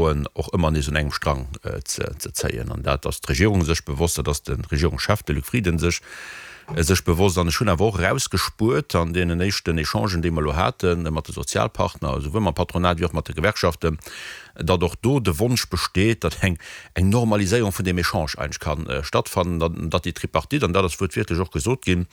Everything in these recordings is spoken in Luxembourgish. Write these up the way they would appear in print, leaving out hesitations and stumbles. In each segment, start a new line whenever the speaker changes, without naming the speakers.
Froen och ëmmer nees un engem Strang ze zéien. An dat ass d'Regierung sech bewosst, dat ass de Regierungschef, de Luc Frieden, sech sech bewosst. An ech hunn awer och erausgespuert an deenen éischten Echangen, déi mer elo hate mat de Sozialpartner, esouwuel mam Patronat wéi och mat de Gewerkschaften, datt och do de Wonsch besteet, datt eng eng Normaliséierung vun deem Echange eigentlech ka stattfannen, datt déi Tripartite, an dat ass wuertwiertlech och gesot ginn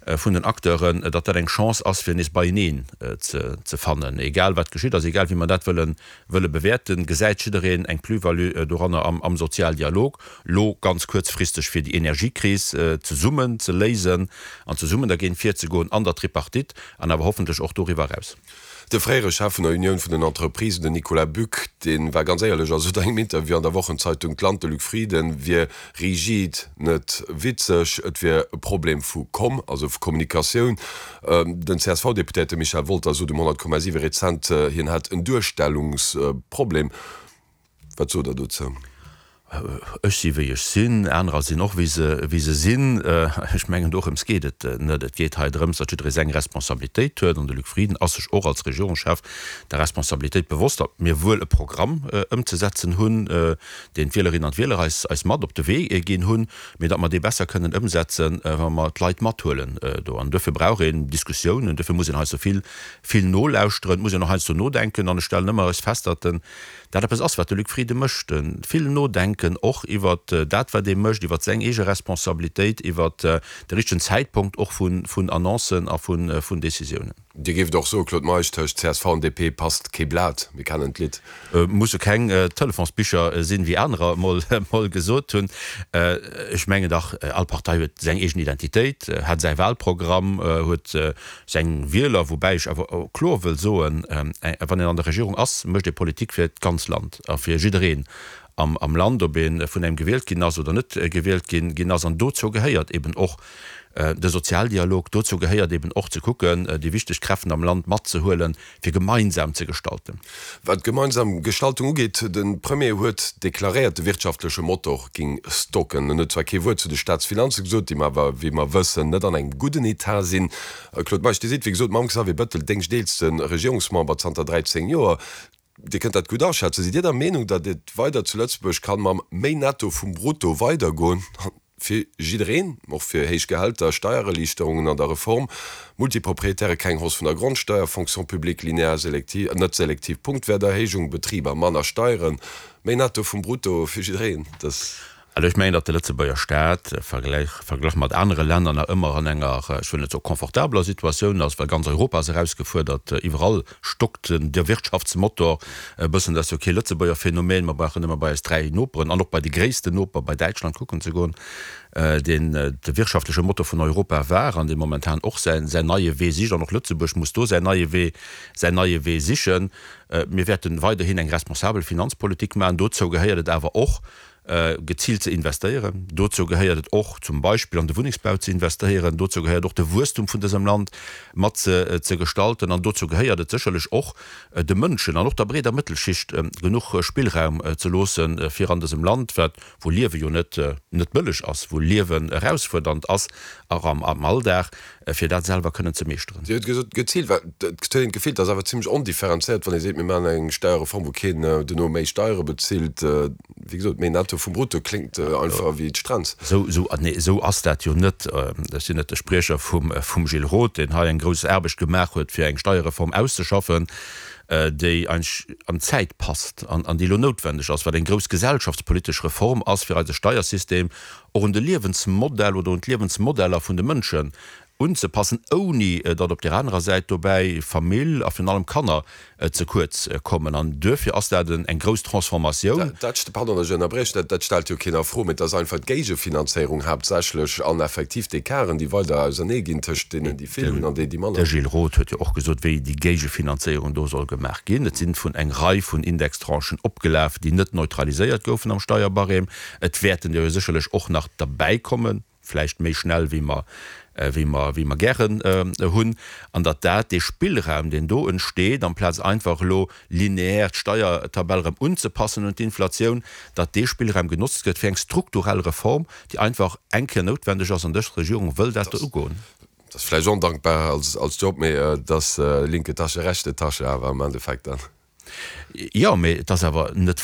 vun den Acteuren, datt dat eng Chance ass, fir nees beieneen ze fannen. Egal wat geschitt ass, egal wéi mer dat wëllen wëlle bewäerten, gesäit jiddereen eng Plus-value doranner am am Sozialdialog, lo ganz kuerzfristeg fir déi Energiekris zesummen ze léisen an zesummen dergéint virzegoen an der Tripartite an awer hoffentlech och doriwwer eraus.
De fréiere Chef vun der Unioun vun den Entreprisen, den Nicolas Buck, dee war ganz éierlech a sot an engem Interview an der Wochenzeitung D'Land, de Luc Frieden wier rigid, net witzeg, et wier e Problem vu Komm, also vu Kommunikatioun. Den CSV-Deputéierte Michel Wolter sot um 100,7 rezent, hien hätt en Duerstellungsproblem. Wat sot Der dozou?
Ech si wéi ech sinn, anerer sinn och wéi se wéi se sinn. Ech mengen dorëms geet et net. Et geet hei drëms, datt jidderee seng Responsabilitéit huet. An de Luc Frieden ass sech och als Regierungschef der Responsabilitéit bewosst, datt mir wuel e Programm ëmzesetzen hunn, deen d'Wielerinnen an d'Wieler eis eis mat op de Wee ginn hunn, mee datt mer dee besser kënnen ëmsetzen, wa mer d'Leit mathuelen do. An duerfir brauch een Diskussiounen, duerfir muss een hei sou vill vill nolauschteren, et muss een och heiansdo nodenken. An ech stellen ëmmer eres fest, datt den Dat eppes ass, wat de Luc Frieden mécht, vill nodenken, och iwwer dat, wat ee mécht, iwwer seng eege Responsabilitéit, iwwer de richtegen Zäitpunkt och vun Annoncen a vun Décisiounen.
Dir géift och soen, Claude Meisch, tëscht csv an DP passt kee Blat, mir kennen d'Lidd.
Musse keng Telefonsbicher sinn, wéi anerer emol gesot hunn. Ech mengen dach, all Partei huet seng eegen Identitéit, hat säi Wahlprogramm, huet Seng Wieler, woubäi ech awer kloer wëll soen, wann een an der Regierung ass, mécht ee Politik fir d'ganz Land a fir jiddereen am Land, ob ee vun engem gewielt ginn ass oder net gewielt ginn ass. An dozou gehéiert eben och de Sozialdialog, dozou gehéiert eben och ze kucken, déi wichteg Kräften am Land matzehuelen, fir gemeinsam ze gestalten.
Wat d'gemeinsam Gestaltung ugeet, de Premier huet deklaréiert, de wirtschaftleche Motor ging stocken. En huet zwar kee Wuert zu de Staatsfinanze gesot, déi mer awer, wéi mer wëssen, net an engem gudden Etat sinn. Claude Meisch, Dir sidd, wéi gesot, mam Xavier Bettel déngschteelste Regierungsmember zanter 13 Joer. Dir kënnt dat gutt aschätzen. Sidd Dir der Meenung, datt et weider zu Lëtzebuerg kann mam méi Netto vum Brutto weidergoen? Fir jiddereen, och fir héich Gehälter, Steiererliichterungen an der Reform, Multiproprietäre keng Hausse vun der Grondsteier, Fonction publique linéaire selektiv, net selektiv Punktwäerterhéijung, Betriber manner Steieren, méi Netto vum Brutto fir jiddereen.
Dass. Also ech mengen, datt de Lëtzebuerger Staat, verglach mat anere Länner, nach ëmmer an enger, ech wëll net soe confortabeler Situatioun ass, well ganz Europa ass erausgefuerdert, iwwerall stockt de Wirtschaftsmotor e bëssen. Dat ass jo kee Lëtzebuerger Phänomen. Mer brauchen nëmme bei eis 3 Noperen an och bei de gréissten Noper, bei Däitschland kucken ze goen, deen de wirtschaftleche Motor vun Europa war an dee momentan och säin neie Wee sicht. An och Lëtzebuerg muss do säin neie Wee, säin neie Wee sichen. Mir wäerte weiderhin eng responsabel Finanzpolitik maachen. Dozou gehéiert et awer och, geziilt ze investéieren. Dozou gehéiert et och zum Beispill an de Wunnengsbau ze investéieren. Dozou gehéiert och de Wuesstum vun dësem Land mat ze gestalten. An dozou gehéiert et sécherlech och, de Mënschen an och der breeder Mëttelschicht genuch Spillraum ze loossen, fir an dësem Land, wat, wou Liewe jo net net bëlleg ass, wou Liewen erausfuerdernd ass, och am Alldag, fir dat selwer kënnen ze meeschteren.
Dir hutt gesot, geziilt, well et huet een d'Gefill, et ass awer zimlech ondifferenzéiert, wann ee seet, mir maachen eng Steierreform, wou keen duerno méi Steiere bezilt. Wéi gesot, méi Netto vum Brutto kléngt einfach wéi d'Strenz.
Esou, esou, nee, esou ass dat jo net. Ech sinn net de Spriecher vum, vum Gilles Roth, deen hei eng grouss Aarbecht gemaach huet, fir eng Steierreform auszeschaffen, déi eigentlech an d'Zäit passt an, an déi elo noutwendeg ass, wat eng grouss gesellschaftspolitesch Reform ass, fir eise Steiersystem och un de Liewensmodell oder un d'Liewensmodeller vun de Mënschen unzepassen, ouni datt op där anerer Säit dobäi Famill a virun allem Kanner ze kuerz kommen. An duerfir ass dat eng grouss Transformatioun.
Dat, pardon, datt ech ënnerbriechen, dat stellt jo keen a Fro, mee et ass einfach d'Géigefinanzéierung haaptsächlech an effektiv d'Ecarten, déi weider auserneeginn tëscht deenen, déi vill hunn an déi, déi manner
De Gilles Roth huet jo och gesot, wéi déi Géigefinanzéierung do soll gemaach ginn. Et sinn vun eng Rei vun Indextranchen opgelaf, déi net neutraliséiert goufen am Steierbarème. Et wäerten der jo sécherlech och nach derbäikommen, vläicht méi schnell wéi mer, wéi mer, wéi mer gären hunn, an datt dat, dee Spillraum, deen do entsteet, amplaz einfach elo lineaire d'Steiertabell erëm unzepassen un d'Inflatioun, datt dee Spillraum genotzt gëtt fir eng strukturell Reform, déi einfach eng Kéier noutwendeg ass, an dës Regierung wëll dat do ugoen.
Dat ass vläicht ondankbar als Job, mee et ass linke Tasche, rechte Tasche awer am Endeffekt dann.
Jo, mee et ass awer net.